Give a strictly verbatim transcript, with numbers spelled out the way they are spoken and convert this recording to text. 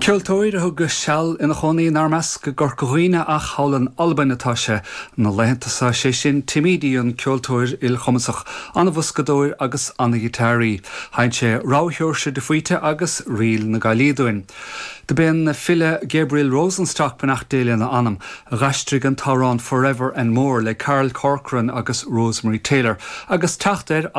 Ceoltóir a thug seal ina chónaí inár measc i gCorca Dhuibhne ach thall in Albain atá sé na laethanta seo sé sin Tim Edey an ceoltóir ilchumasach, an-bhoscadóir agus an-ghiotáraí. Sheinn sé Rogha Sheoirse de Faoite agus Ríl na Gaillí dúinn. Do b'é an file Gabriel Rosenstock beannacht Dé lena anam, a d'aistrigh an t-amhrán Forever and More le Carl Corcoran agus Rosemary Taylor, agus teacht air as